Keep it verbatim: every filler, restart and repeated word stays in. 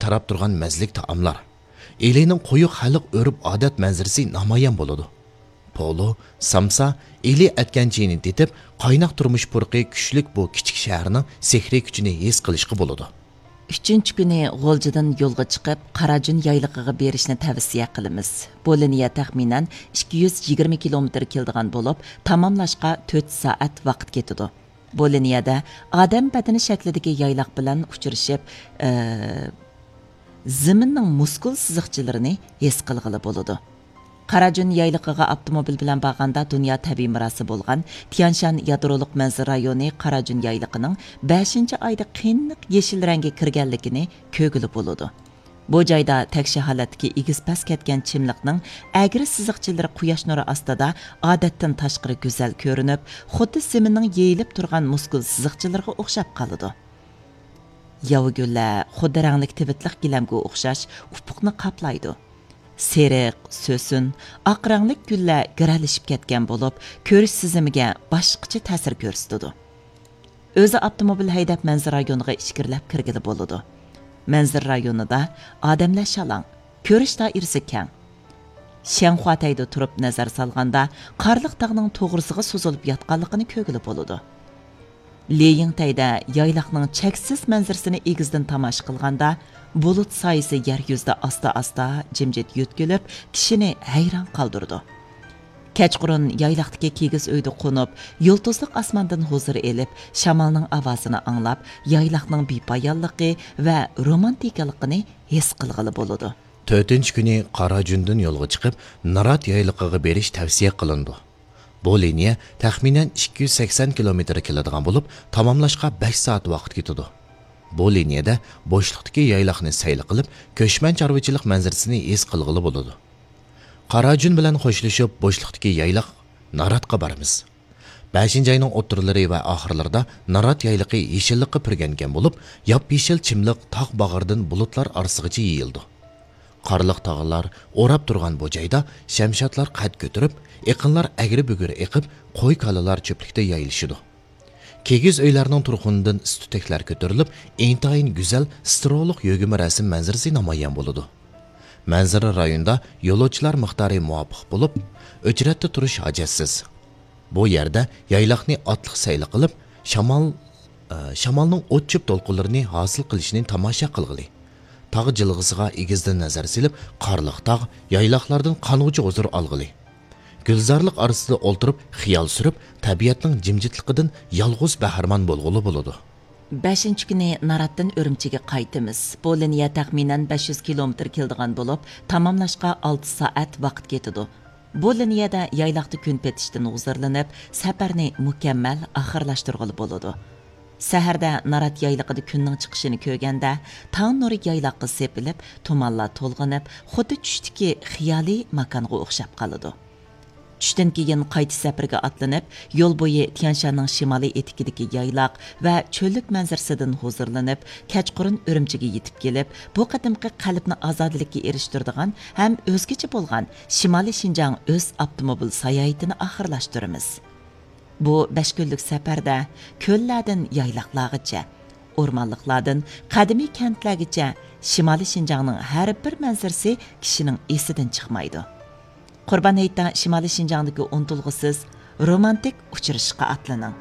قاراپ تۇرغان مەززىلىك تائاملار، ئىلىنىڭ قويۇق خەلق ئۆرپ-ئادەت مەنزىرىسى نامايان بولىدۇ. پولۇ، سامسا، ئىلى ئەتكەن چېيىنى تېتىپ، قايناق تۇرمۇش پۇرىقى كۈچلۈك بۇ كىچىك شەھەرنىڭ سېھرىي كۈچىنى ھېس قىلىشقا بولىدۇ. ئۈچىنچى كۈنى غۇلجىدىن يولغا چىقىپ، قاراجۈن يايلىقىغا بېرىشنى تەۋسىيە قىلىمىز. بۇ لىنىيە تەخمىنەن ئىككى يۈز يىگىرمە كىلومېتىر كېلىدىغان بولۇپ، تاماملاشقا تۆت سائەت ۋاقىت كېتىدۇ. بۇ لىنىيەدە ئادەم بەدىنى شەكلىدىكى يايلاق بىلەن ئۇچرىشىپ، ئى، زېمىننىڭ مۇسكۇل سىزىقچىلىرىنى ھېس قىلغىلى بولىدۇ. قاراجۈن يايلىقىغا ئاپتوموبىل بىلەن بارغاندا، دۇنيا تەبىئىي مىراسى بولغان تيانشان يادرولۇق مەنزىرە رايونى قاراجۈن يايلىقىنىڭ بەشىنچى ئايدا قېنىق يېشىل رەڭگە كىرگەنلىكىنى كۆرگىلى بولىدۇ. بۇ جايدا تەكشى ھالەتتىكى ئېگىز پەس كەتكەن چىملىقنىڭ ئەگرى سىزىقچىلىرى قۇياش نۇرى ئاستىدا ئادەتتىن تاشقىرى گۈزەل كۆرۈنۈپ، خۇددى زېمىننىڭ يېيىلىپ تۇرغان مۇسكۇل سىزىقچىلىرىغا ئوخشاپ قالىدۇ. ياۋا گۈللەر، خۇددى رەڭلىك تىۋىتلىق گىلەمگە ئوخشاش ئۇپۇقنى قاپلايدۇ. سېرىق، سۆسۈن، ئاق رەڭلىك گۈللەر گىرەلىشىپ كەتكەن بولۇپ، كۆرۈش سېزىمىگە باشقىچە تەسىر كۆرسىتىدۇ. ئۆزى ئاپتوموبىل ھەيدەپ مەنزىرە رايونىغا ئىچكىرىلەپ كىرگىلى بولىدۇ. مەنزىرە رايونىدا ئادەملەر شالاڭ، كۆرۈش دائىرىسى كەڭ. شيەنخۇاتەيدە تۇرۇپ نەزەر سالغاندا، قارلىق تاغنىڭ توغرىسىغا سوزۇلۇپ ياتقانلىقىنى كۆرگىلى بولىدۇ. لېيىڭتەيدە يايلاقنىڭ چەكسىز مەنزىرىسىنى ئېگىزدىن تاماشا قىلغاندا، بۇلۇت سايىسى يەر يۈزىدە ئاستا-ئاستا جىمجىت يۆتكىلىپ، كىشىنى ھەيران قالدۇرىدۇ. كەچقۇرۇن يايلاقتىكى كىگىز ئۆيدە قونۇپ، يۇلتۇزلۇق ئاسماندىن ھۇزۇر ئېلىپ، شامالنىڭ ئاۋازىنى ئاڭلاپ، يايلاقنىڭ بىپايانلىقى ۋە رومانتىكىلىقىنى ھېس قىلغىلى بولىدۇ. تۆتىنچى كۈنى قاراجۈندىن يولغا چىقىپ، نارات يايلىقىغا بېرىش تەۋسىيە قىلىنىدۇ. بۇ لىنىيە تەخمىنەن ئىككى يۈز سەكسەن كىلومېتىر كېلىدىغان بولۇپ، تاماملاشقا بەش سائەت ۋاقىت كېتىدۇ. بۇ لىنىيەدە بوشلۇقتىكى يايلاقنى سەيلە قىلىپ، كۆچمەن چارۋىچىلىق مەنزىرىسىنى ھېس قىلغىلى بولىدۇ. قاراجۈن بىلەن خوشلىشىپ، بوشلۇقتىكى يايلاق ناراتقا بارىمىز. بەشىنچى ئاينىڭ ئوتتۇرىلىرى ۋە ئاخىرلىرىدا نارات يايلىقى يېشىللىققا پۈرگەنگەن بولۇپ، ياپيېشىل چىملىق تاغ باغرىدىن بۇلۇتلار ئارىسىغىچە يېيىلىدۇ. قارلىق تاغلار ئوراپ تۇرغان بۇ جايدا شەمشادلار قەد كۆتۈرۈپ، ئېقىنلار ئەگرى-بۈگرى ئېقىپ، قوي-كالىلار چۆپلۈكتە يايلىشىدۇ. كىگىز ئۆيلەرنىڭ تۇرخۇنىدىن ئىس-تۈتەكلەر كۆتۈرۈلۈپ، ئىنتايىن گۈزەل سترولۇق يۆگىمە رەسىم مەنزىرىسى نامايان بولىدۇ. مەنزىرە رايونىدا يولۇچىلار مىقدارى مۇۋاپىق بولۇپ، ئۆچرەتتە تۇرۇش ھاجەتسىز. بۇ يەردە يايلاقنى ئاتلىق سەيلە قىلىپ، شامال، ئە، شامالنىڭ ئوت-چۆپ دولقۇنلىرىنى ھاسىل قىلىشىنى تاماشا قىلغىلى. تاغ جىلغىسىغا ئېگىزدىن نەزەر سېلىپ، قارلىق تاغ، يايلاقلاردىن قانغۇچە ھۇزۇر ئالغىلى. گۈلزارلىق ئارىسىدا ئولتۇرۇپ، خىيال سۈرۈپ، تەبىئەتنىڭ جىمجىتلىقىدىن يالغۇز بەھرىمەن بولغىلى بولىدۇ. بەشىنچى كۈنى ناراتتىن ئۈرۈمچىگە قايتىمىز. بۇ لىنىيە تەخمىنەن بەش يۈز كىلومېتىر كېلىدىغان بولۇپ، تاماملاشقا ئالتە سائەت ۋاقىت كېتىدۇ. بۇ لىنىيەدە يايلاقتا كۈن پېتىشتىن ھۇزۇرلىنىپ، سەپەرنى مۇكەممەل ئاخىرلاشتۇرغىلى بولىدۇ. سەھەردە نارات يايلىقىدا كۈننىڭ چىقىشىنى كۆرگەندە، تاڭ نۇرى يايلاققا سېپىلىپ، تۇمانلار تولغىنىپ، خۇددى چۈشتىكى خىيالىي ماكانغا ئوخشاپ قالىدۇ. چۈشتىن كېيىن قايتىش سەپىرىگە ئاتلىنىپ، يول بويى تيانشاننىڭ شىمالىي ئېتىكىدىكى يايلاق ۋە چۆللۈك مەنزىرىسىدىن ھۇزۇرلىنىپ، كەچقۇرۇن ئۈرۈمچىگە يېتىپ كېلىپ، بۇ قېتىمقى قەلبنى ئازادىلىككە ئېرىشتۈرىدىغان ھەم ئۆزگىچە بولغان شىمالىي شىنجاڭ ئۆز ئاپتوموبىل ساياھىتىنى ئاخىرلاشتۇرىمىز. بۇ بەش كۈنلۈك سەپەردە كۆللەردىن يايلاقلارغىچە، ئورمانلىقلاردىن قەدىمىي كەنتلەرگىچە شىمالىي شىنجاڭنىڭ ھەر بىر مەنزىرىسى كىشىنىڭ ئېسىدىن چىقمايدۇ. قۇربان ھېيتتا شىمالىي شىنجاڭدىكى ئۇنتۇلغۇسىز رومانتىك ئۇچرىشىشقا ئاتلىنىڭ.